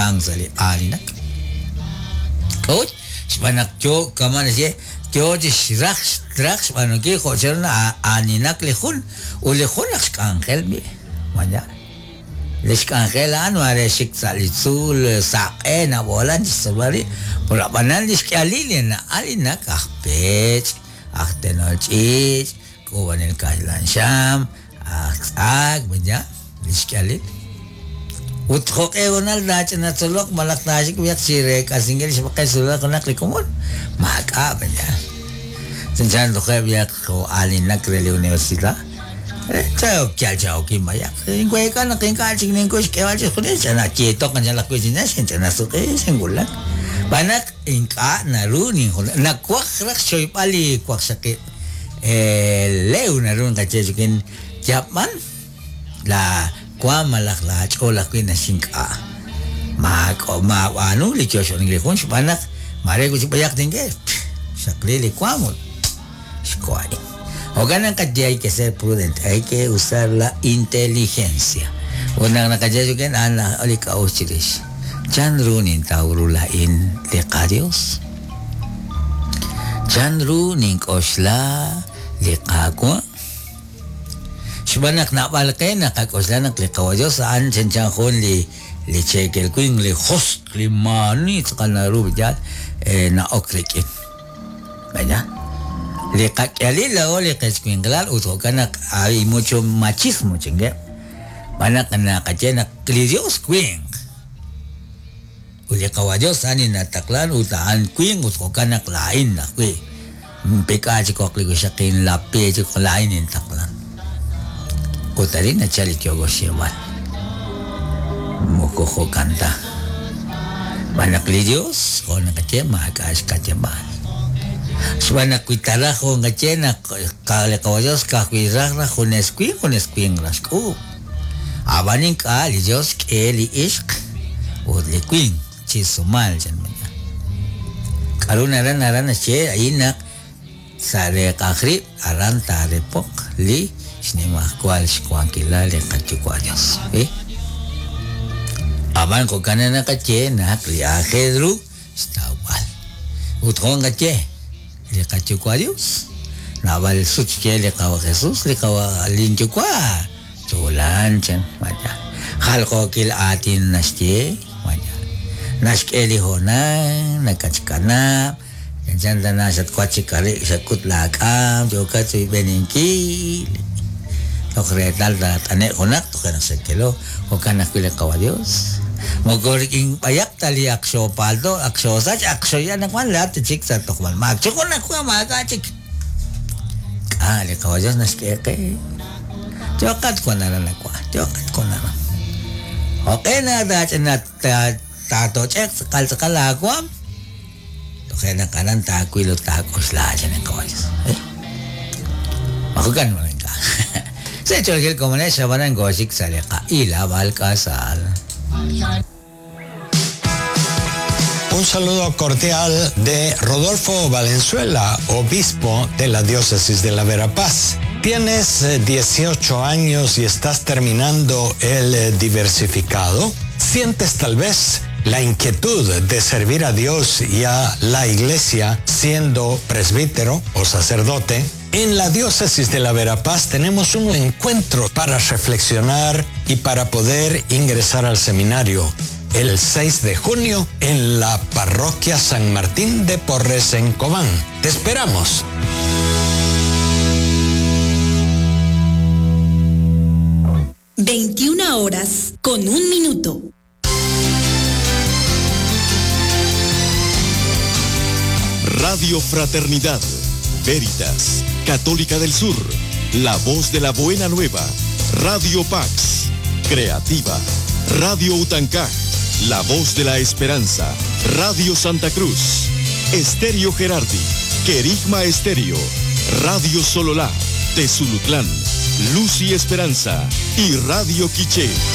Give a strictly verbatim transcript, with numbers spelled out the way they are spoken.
nakamk sa' li aalinak. K'a'ut? Xb'aan naq yo kama' naxye yo chi xraj xraj xb'aanunkil jo' chanru na'aaninak li jun ut li jun naq xk'anjel b'i mañana. Li xk'anjel a'an mare xik sa' li tzuul saq'e nab'oolan chi xtzolb'al rib', pero ab'anan li xk'ihalil li na'aalinak aj peech', aj tenol ch'iich', k'uub'anel kaxlan xam, aj tz'ak, mañana li xk'ihalil. Ut jo'q'e honal taach'inatzoloq malaj taaxik b'ayaq chi reek'asinkil xb'aqel xsulaq junaq li komon, maak'a' mañana. Chanchan tojeb' b'ayaq jo' aalinak re li universidad. Chao kyal chao kin b'ayaq. Inweek'a naq ink'a' chik ninkuy xk'eeb'al chixjunil ch'ana yiitoq anchan ajwi' chi nax xinch'ana suq'i xinwulak. B'an naq ink'a' naru ninjun nawaj raj xchoyb'al li waqxaqib' lew naru nqaye chikin yab'an la waam malaj laach'ool ajwi' naxink'a'. Maak'o maab'aanu li yoxonik li jun xb'aan naq mare wi' chik b'ayaq tink'e xaqli li waam ut xko'ay. Jo'kan naq naqaye hay que ser prudente, hay que usar la inteligencia. Ut naq naqaye chikin a'an li k'a'uxl chirix. Chanru nintaw ru laa'in li qaDios? Chanru nink'oxla li Qaawa'? Xb'aan naq naab'al qe naqak'oxla naq li Qawa Dios a'an chanchan jun li li cheekel winq, li josq', li maani tz'aqal naru yaal na'ok rik'in. ¿Verdad? Li qak'ihalil laa'o li qechwinqilal ut jo'kan naq hay mucho machismo chinge. B'an naq naqaye naq li Dios winq. Ut li Qawa Dios a'an li nataqlan ut a'an winq ut jo'kan naq laa'in ajwi'. Mpik'a chik oq li wixaqin lapi chik laa'in nintaqlan. Ut arin nachal li yooko xyeeb'al. Moko jo'kan ta. B'an naq li Dios jo' naqaye maak'a' xk'ayeb'al. Xb'aan naq wi taraj jo' naqaye naq li Qawa Dios ka'ajwi' raj raj junes winq junes winq raj xk'uub'. Ab'an ink'a' li Dios xk'e li ixq ut li winq chi sumal chan mañana. K'aru naran naran naxye a'in naq sa' reeqaj rib' aran taarepoq li xnimajwal xwankilal li qaYuwa' Dios. Eh? Ab'an jo'kan naqaye naq li aajel ru xtawb'al. Ut jo' naqaye li qaYuwa' Dios. Naab'al sut xye li Qawa Jesús, li Qawa linyuwa' tuulan chan maya. Jaljookil aatin naxye maya. Naxk'e li hoonal, nakachkanab', chanchan tana xatwa chik ari' xakut laak'am, yookat royb'eninkil. Toj reetal taat'ane' junaq toje' naq xakelo, jo'kan ajwi' li Qawa Dios. Moko rik'in b'ayaq ta li ak xoopalto, ak xoosach, ak xoya naq wan laat chik sa' tojb'al maak. Chi jun ajwi' maak'a' chik. K'a' li Qawa Dios naxk'e qe. Yoqat wan aran nakwa, yoqat wan aran. Jo'q'e na taach'ina taatoch'eq tz'aqal tz'aqal aawaam. Toje' naq aran taawil ut taak'oxla chan li Qawa Dios. Eh? Majukan mo rin ka. Sa chorgil komunes xabanan goxik sa li qa'ila balkasal. Un saludo cordial de Rodolfo Valenzuela, obispo de la diócesis de la Verapaz. ¿Tienes dieciocho años y estás terminando el diversificado? ¿Sientes tal vez la inquietud de servir a Dios y a la iglesia siendo presbítero o sacerdote? En la diócesis de la Verapaz tenemos un encuentro para reflexionar y para poder ingresar al seminario el seis de junio en la parroquia San Martín de Porres en Cobán. ¡Te esperamos! veintiuna horas con un minuto. Radio Fraternidad, Veritas, Católica del Sur, La Voz de la Buena Nueva, Radio Pax, Creativa, Radio Utancaj, La Voz de la Esperanza, Radio Santa Cruz, Estéreo Gerardi, Querigma Estéreo, Radio Sololá, Tezulutlán, Luz y Esperanza y Radio Quiché.